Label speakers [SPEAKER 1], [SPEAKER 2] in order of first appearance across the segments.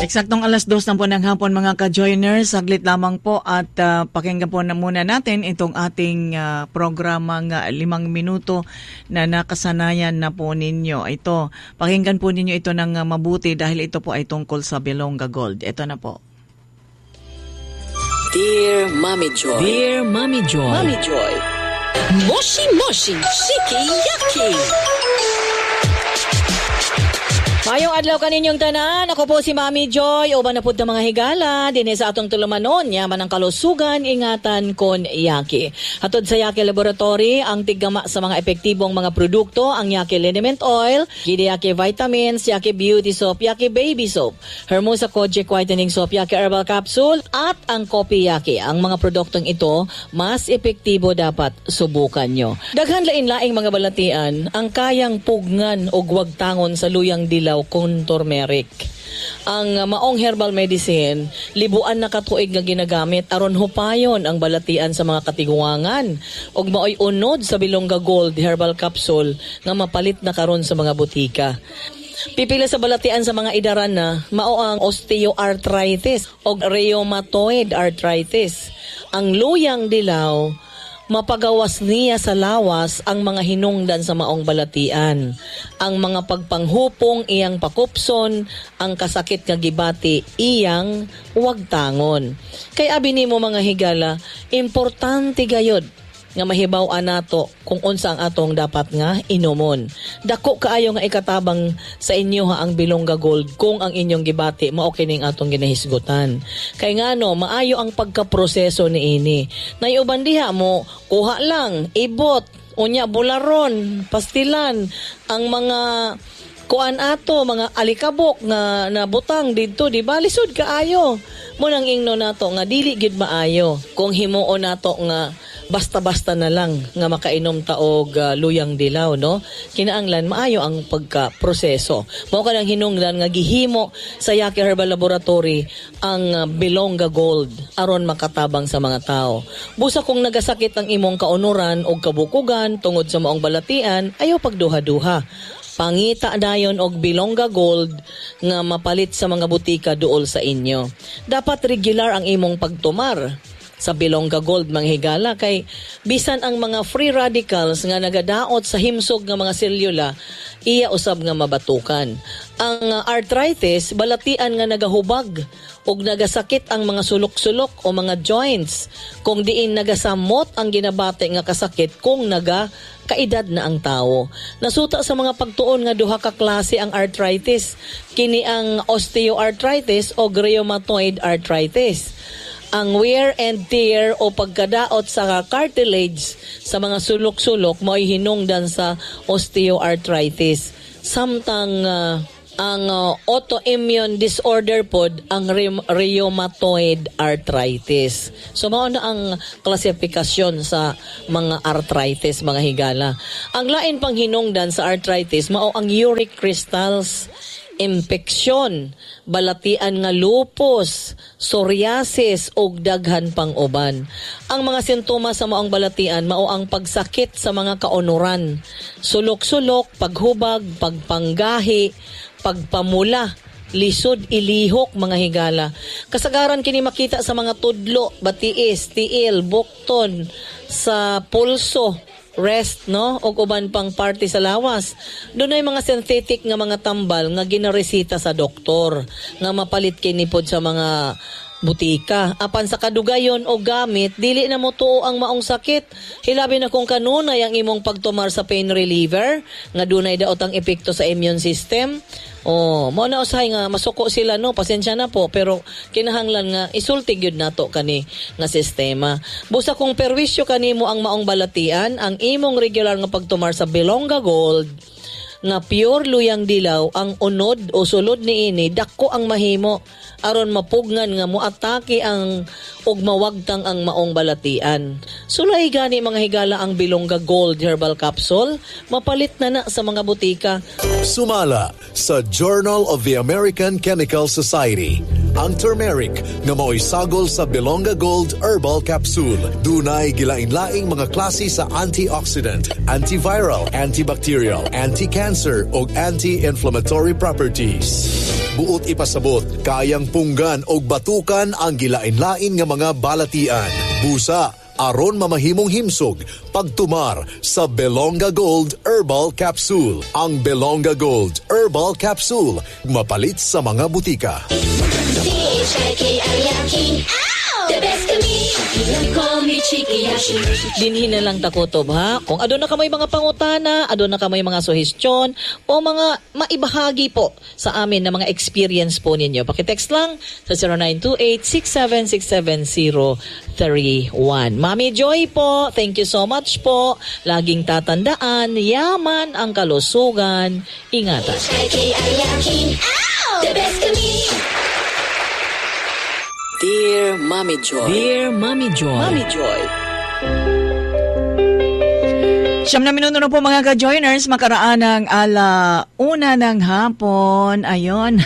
[SPEAKER 1] Eksaktong 2:00 na po ng hapon, mga ka-joiners. Saglit lamang po at pakinggan po na muna natin itong ating programang 5 minuto na nakasanayan na po ninyo. Ito, pakinggan po ninyo ito ng mabuti dahil ito po ay tungkol sa Bilongga Gold. Ito na po.
[SPEAKER 2] Dear Mommy Joy.
[SPEAKER 3] Dear Mommy Joy.
[SPEAKER 2] Mommy Joy. Moshi Moshi Shiki Yaki.
[SPEAKER 3] Maayong adlaw kaninyong tanan. Ako po si Mommy Joy. Uban na pud mga higala dinhi sa atong tulumanon. Yaman ang kalusugan, ingatan kon Yaki. Hatod sa Yaki Laboratory, ang tiggama sa mga epektibong mga produkto, ang Yaki Liniment Oil, Gidi Yaki Vitamins, Yaki Beauty Soap, Yaki Baby Soap, Hermosa Kojic Whitening Soap, Yaki Herbal Capsule, at ang Kopi Yaki. Ang mga produktong ito, mas epektibo, dapat subukan nyo. Daghan lain-laing mga balatian ang kayang pugngan og wagtangon sa luyang dilaw kon turmeric. Ang maong herbal medicine, libuan na katuig nga ginagamit aron hupayon ang balatian sa mga katiguangan. Ug maoy unod sa Bilongga Gold Herbal Capsule nga mapalit na karon sa mga butika. Pipila sa balatian sa mga idaran na mao ang osteoarthritis o rheumatoid arthritis. Ang luyang dilaw, mapagawas niya sa lawas ang mga hinungdan sa maong balatian. Ang mga pagpanghupong iyang pakupson, ang kasakit nga gibati iyang wagtangon. Kay abi nimo, mga higala, importante gayod nga mahibaw-an nato kung unsa ang atong dapat nga inumon. Dako kaayo nga ikatabang sa inyo ha ang Bilongga Gold kung ang inyong gibati mao kining atong ginahisgutan. Kay ngano, maayo ang pagkaproseso niini. Nay uban diha mo kuha lang, ibot, unya bularon, pastilan ang mga kuan ato, mga alikabok nga nabutang didto, di ba? Lisod kaayo. Mao nang ingno nato nga dili gid maayo kung himuon nato nga basta-basta na lang nga makainom ta og luyang dilaw, no? Kinaanglan maayo ang pagka-proseso. Mao kanang hinungdan nga gihimo sa Yaki Herbal Laboratory ang Bilongga Gold aron makatabang sa mga tao. Busa kung nagasakit ang imong kaunuran og kabukugan tungod sa maong balatian, ayaw pagduha-duha. Pangita dayon og Bilongga Gold nga mapalit sa mga butika duol sa inyo. Dapat regular ang imong pagtumar sa Bilongga Gold, mga higala, kay bisan ang mga free radicals nga nagadaot sa himsog nga mga selula, iya usab nga mabatukan. Ang arthritis, balatian nga nagahubag ug nagasakit ang mga sulok-sulok o mga joints kung diin nagasamot ang ginabati nga kasakit kung naga kaedad na ang tao. Nasuta sa mga pagtuon nga duha ka klase ang arthritis, kini ang osteoarthritis o rheumatoid arthritis. Ang wear and tear o pagkadaot sa cartilage sa mga sulok-sulok mao'y hinungdan sa osteoarthritis. Samtang ang autoimmune disorder pod ang rheumatoid arthritis. So mao na ang klasifikasyon sa mga arthritis, mga higala. Ang lain pang hinungdan sa arthritis mao ang uric crystals, impeksyon, balatian nga lupus, psoriasis ug daghan pang uban. Ang mga sintomas sa maong balatian mao ang pagsakit sa mga kaunuran, sulok-sulok, paghubag, pagpanggahi, pagpamula, lisod ilihok, mga higala. Kasagaran kini makita sa mga tudlo, batiis, tiil, bukton, sa pulso, wrist, no, ug uban pang parte sa lawas. Dunay mga synthetic nga mga tambal nga ginaresita sa doktor nga mapalit kini pod sa mga butika. Apan sa kadugayon o gamit, dili na mo tuo ang maong sakit. Hilabi na kung kanunay ang imong pagtumar sa pain reliever nga dunay daot ang epekto sa immune system. Oh, mao na usahay nga masuko sila, no, pasensya na po, pero kinahanglan nga isulti gyud nato kani nga sistema. Busa kung perwisyo kanimo ang maong balatian, ang imong regular nga pagtumar sa Bilongga Gold nga pure luyang dilaw ang unod o sulod niini, dako ang mahimo aron mapugngan nga moatake ang ug mawagtang ang maong balatian. Sulay gani, mga higala, ang Bilongga Gold Herbal Capsule, mapalit na na sa mga butika.
[SPEAKER 4] Sumala sa Journal of the American Chemical Society. Ang turmeric nga maoy sagol sa Belonga Gold Herbal Capsule. Dunay gilain-laing mga klase sa antioxidant, antiviral, antibacterial, anti-cancer ug anti-inflammatory properties. Buot ipasabot, kayang punggan og batukan ang gilain-lain nga mga balatian. Busa, aron mamahimong himsog, pagtumar sa Belonga Gold Herbal Capsule. Ang Belonga Gold Herbal Capsule, mapalit sa mga butika.
[SPEAKER 2] C-H-I-K-I-Y-A-K-I. The best kami. Call me Chikiyashi.
[SPEAKER 3] Dinhi na lang takutob ha. Kung aduna kamoy mga pangutana, aduna kamoy mga suhestyon o mga maibahagi po sa amin na mga experience po ninyo. Pakitext lang sa 0928-6767031. Mami Joy po, thank you so much po. Laging tatandaan, yaman ang kalusugan. Ingatan.
[SPEAKER 2] C-H-I-K-I-Y-A-K-I. The best kami.
[SPEAKER 5] Dear Mommy Joy.
[SPEAKER 3] Dear Mami Joy.
[SPEAKER 5] Mommy Joy.
[SPEAKER 1] 9 minuto na po, mga ka-joiners, makaraan ng 1:00 ng hapon. Ayon,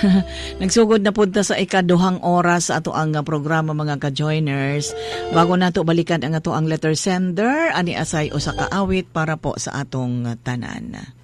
[SPEAKER 1] nagsugod na punta sa ikaduhang oras sa ato ang programa, mga ka-joiners. Bago nato balikan ang ato ang letter sender, ani asay usa ka awit para po sa atong tanan.